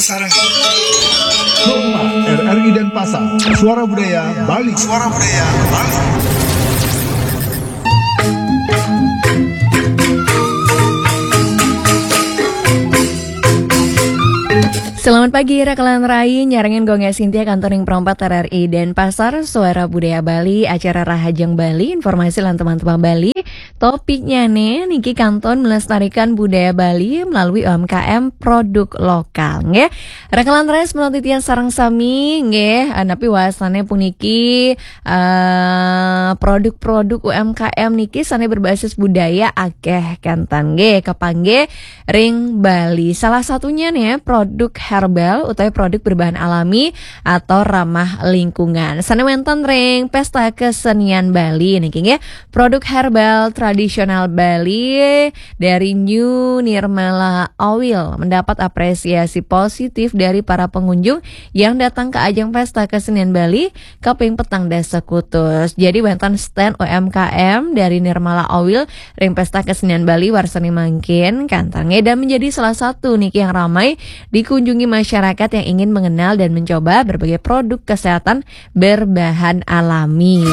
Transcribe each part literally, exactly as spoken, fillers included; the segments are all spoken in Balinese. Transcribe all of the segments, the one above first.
Sarang. Hotma, R R I Denpasar, Suara Budaya Bali. Suara Budaya Bali. Selamat pagi, rakalan rai, nyarengin Gue Sintia, kantor ring perempat R R I Denpasar, Suara Budaya Bali, acara Rahajeng Bali, informasi lan teman-teman Bali. Topiknya nih, niki kantun melestarikan budaya Bali melalui U M K M produk lokal, nggih. Rakalan rai, menurut titian sareng sami, nggih, eh, napi wasane puniki, eh, produk-produk U M K M niki sane berbasis budaya akeh kenten, nggih, kapanggih ring Bali. Salah satunya nih, produk herbal utawi produk berbahan alami atau ramah lingkungan. Sane wenten ring Pesta Kesenian Bali niki, nggih. Produk herbal tradisional Bali dari New Nirmala Oil mendapat apresiasi positif dari para pengunjung yang datang ke ajang Pesta Kesenian Bali kaping petang dasa kutus. Jadi wenten stand U M K M dari Nirmala Oil ring Pesta Kesenian Bali warsani mangkin, kantun nggih, dan menjadi salah satu niki yang ramai dikunjungi masyarakat yang ingin mengenal dan mencoba berbagai produk kesehatan berbahan alami.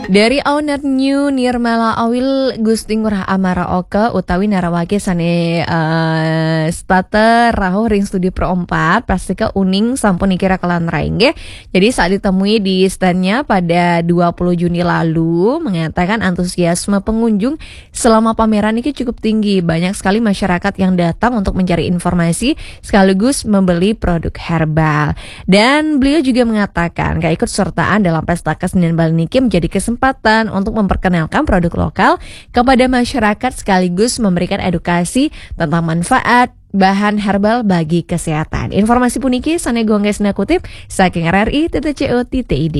Dari owner New Nirmala Oil, Gusti Ngurah Amara Oka utawi narawake sane, eh, stata rauh ring studio Pro empat, pastika uning sampun niki, rakalan rai, nggih. Jadi saat ditemui di standnya pada dua puluh Juni lalu, mengatakan antusiasme pengunjung selama pameran ini cukup tinggi. Banyak sekali masyarakat yang datang untuk mencari informasi sekaligus membeli produk herbal. Dan beliau juga mengatakan, keikutsertaan dalam Pesta Kesenian Bali niki menjadi kesempatan untuk memperkenalkan produk lokal kepada masyarakat sekaligus memberikan edukasi tentang manfaat bahan herbal bagi kesehatan. Informasi puniki sane Gue Sintia kutip saking R R I titik C O titik I D.